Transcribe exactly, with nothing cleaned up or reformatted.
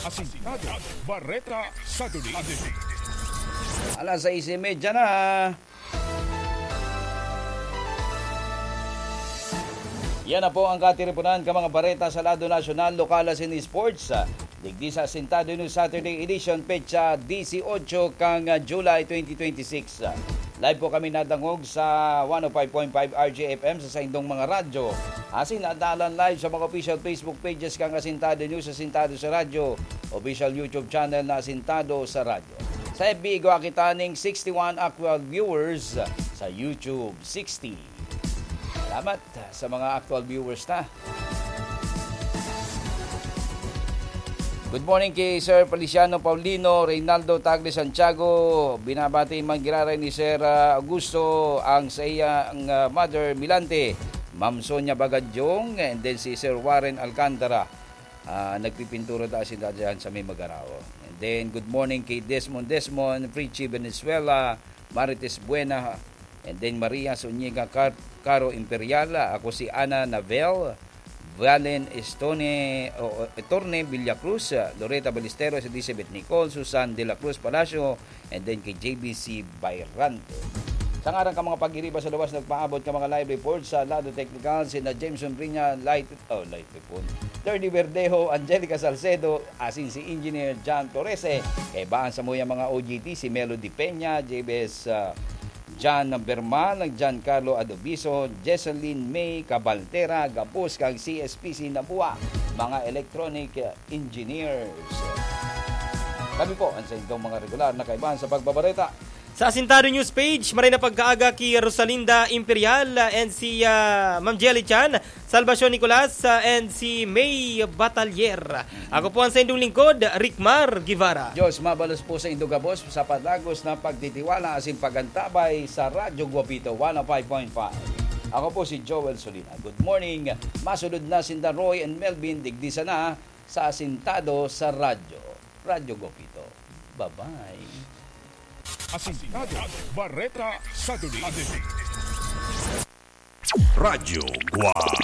Asintado, Bareta Saturday. Alas sais y media na. Yan na po ang katiripunan kan mga bareta sa lado nasyonal, lokal asin sports. Digdi sa Asintado News Saturday Edition, petsa disiotso kan July twenty twenty-six. Live po kami nadangog sa one oh five point five R J F M sa saindong mga radyo. Asin nadalan live sa mga official Facebook pages kan Asintado News, Asintado sa Radyo, official YouTube channel na Asintado sa Radyo. Sa F B, igwa kita ning sixty-one actual viewers, sa YouTube, sixty. Salamat sa mga actual viewers ta. Good morning kay Sir Feliciano Paulino, Reynaldo Tagle Santiago. Binabati man giraray ni Sir, ah, Augusto ang sa iyang, ah, mother, Milante, Ma'am Sonia Bagadyong, and then si Sir Warren Alcantara. Ah, nagpipintura ta sinda diyan sa may Magarao. And then, good morning kay Desmond Desmond, Fritchie Venezuela, Marites Buena, and then Maria Zuniga Car-, Caro Imperial. Ako si Ana Navel, Valen Estone, o, o, Etorne Villacruz, Loreta Ballesteros, Elizabeth Nicole, Susan de la Cruz Palacio, and then kay J B C Bayrante. Sa ngaran ka mga pag-iriba sa luwas, nagpaabot ka mga live report sa lado teknikal, sina Jameson Brinya, Light, oh, Light Report, Terdy Verdejo, Angelica Salcedo, asin si Engineer John Torrese. Kaibahan sa muya mga O G T, si Melody Peña, J B S, ah, John Bermal, John Carlo Adobiso, Jesseline May Cabaltera, gabos kang C S P C Nabua, mga electronic, ah, engineers. Kami po ang sa inyong mga regular na kaibahan sa pagbabareta. Sa Asintado News Page, maray na pagkaaga ki Rosalinda Imperial, ah, and si, ah, Ma'am Jelly Chan, Salvacion Nicolas, ah, and si May Batalier. Ako po ang saindong lingkod, Rickmar Guevara. Diyos mabalos po sa indo gabos sa padagos na pagtitiwala asin pag-antabay sa Radyo Guapito one oh five point five. Ako po si Joel Solina. Good morning. Masunod na sinda Roy and Melvin, digdi sana sa Asintado sa Radyo. Radyo Guapito. Bye-bye. Asintado, Bareta Saturday. Radyo Guapito.